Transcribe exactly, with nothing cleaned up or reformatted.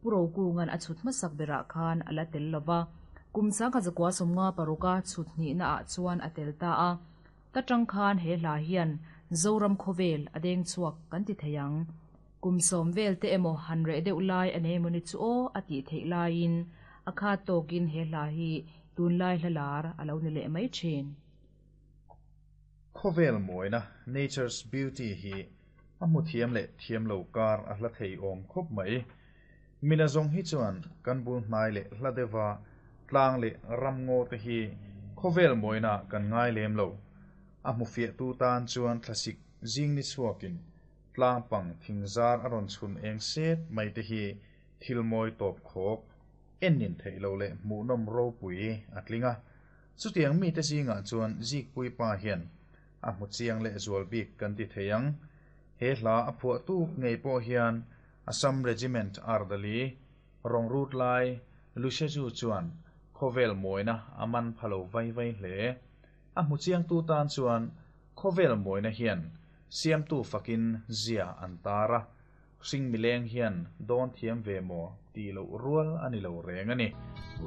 Pu Rokunga'n a chhut hmasak berah khan a la tel lo va, kum sangkhat zakua sawmnga paruka chhut hnihnaah chuan a tel ta a. Ta tang khan he hla hian Zoram khawvel a deng chhuak kan ti thei ang. Kum sawm vel te emaw han reh deuh lai a nei emaw ni chu aw a tih theih laiin a khat tawkin he hla hi tunlai hla lar a lo ni leh mai thin. Khawvel mawina, nature's beauty, hi a hmu thiam leh thiam lo kar a hla thei awm khawp mai. Mina zawng hi chuan kan bul hnai leh hla deuha tlang leh ramngaw te hi khawvel mawina kan ngai lem lo. A hmu fiahtu tan chuan thlasik zing ni chhuakin tlang pang thing zar a rawn chhun eng set mai te hi thil mawi tawp khawk, en nin theih loh leh hmuhnawm ropui a tling a. Chutiang mite zingah chuan Zikpuii pa hian a hmu chiang leh zual bik kan ti thei ang. He hla a phuahtu ngei pawh hian Assam Regiment Ardali rawng rut lai Lusheju chuan khawvel mawina a man pha lo vai vai hle. A hmu chiangtu tan chuan khawvel mawina hian siamtu fakin zia an tar a, hring mileng hian dawn thiam ve maw tih loh rual a ni lo reng a ni.